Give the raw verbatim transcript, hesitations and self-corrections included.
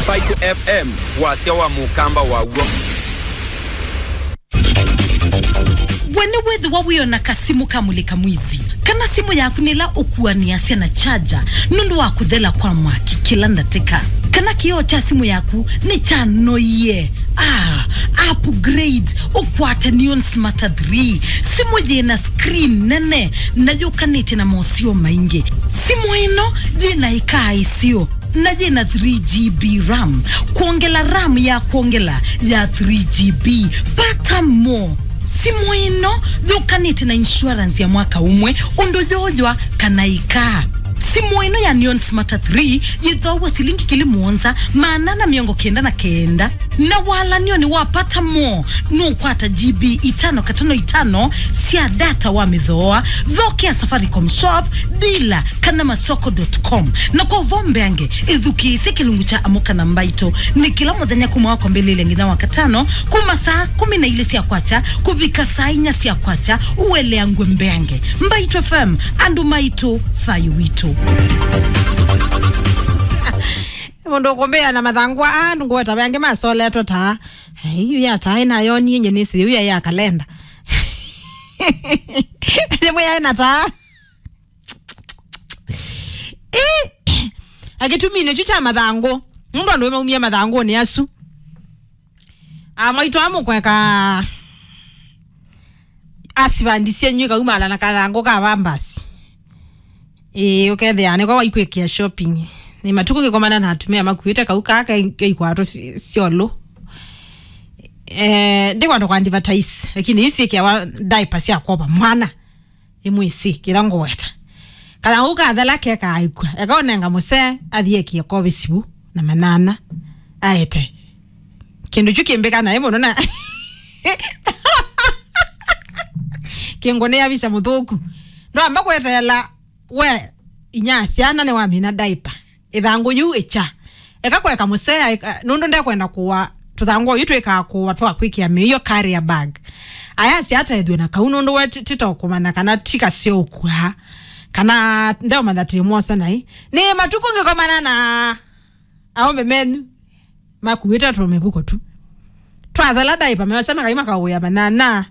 Mbaitu F M, wasya wa mũkamba waw'o. We nĩwĩthĩwa wĩona kasimũ ka mũlĩka mwizi, kana simũ yaku nĩla ũkuanĩasya na charger nũndũ wa kũthela kwa mwaki kĩla ndatĩka, kana kĩoo kya simũ yaku nĩkyanoie? Ah, upgrade, ũkwate Neon Smarter three, simũ yĩna screen nene na yũkanĩte na moseo maingĩ. Simũ ĩno yĩna ĩkaa ĩseo na yĩna three G B RAM. Kwongela RAM ya kwongela ya three G B. Pata mo. Simũ ĩno yũkanĩte na insurance ya mwaka ũmwe ũndũ yooywa kana ĩkaa. Simũ ĩno ya Neon Smarter three yĩthoaw'a silingi ngili mũonza maana na mĩongo kenda na kenda. Na walanio nĩ wa pata mo, nũkwata G B itano katano itano sya data wa mĩthooa. Thokea Safaricom Shop, dealer, kana masoko dot com. Na kwa ũvoo mbeange, ĩthukĩĩsye kĩlungu kya Amũka na Mbaitũ. Nĩ kĩla mũthenya kuma wa kwambĩlĩlya nginya wa katano, kuma saa kũmi na ilĩ sya kwakya kũvika saa inya sya kwakya, ũeleangw'e mbeange. Mbaitũ F M, andũ maitũ, thayũ witũ. Mũndũ ũkũmbĩa na mathangũ aa, ngweta ve angĩ masoletwe taa. Ai, yu ya taa ĩnayonie nye nĩsĩ, yu ya ya kalenda. Nĩmwe yaĩ na taa. Ĩ, akĩtumine kyu kya mathangũ. Nũndũ andũ maumie mathangũnĩ asu. Amwaitũ amũkweka asivandisye nywi kaumala na kathangũ ka vambasi. Ĩĩ, ũkethĩa nĩko waikwĩkĩa shopping. Nĩ matukũ ngĩkomana na atumĩa makuĩte kau kaa ke- keikwatũ syolũ. Eh, ndikwenda kwa advertise, lakini isi ĩkĩawa diaper sya kwova mwana. Ĩmwĩsĩ kĩla ngũweta. Kana ũu kathela keka aikw'a. Eka ũnenga mũsee, athiĩ ekie kovi sivu na manyanya. Aete. Kĩndũ kyu kĩmbĩka naĩ mũno na kĩngũnĩa visa mũthũku. Ndwamba kweteela we inya syana nĩwamina diaper. Ĩthangũ yĩu ĩkya. Eka kweka mũsea, eka- nũndũ ndekwenda kũwa tũthangũ oyu twĩkaa kũwa twa kwĩkĩa mĩio carrier bag. Ayasya atethw'e na kau nũndũ we ti- tito kũmanya kana ti kaseo ũkua. Kana ndeũmanya tĩ mwosa naĩ. Nĩ matukũ ngĩkomana na aũme menyu makuĩte tũmĩvuko tu. Twathela diaper meosa makai makawĩa manyanya.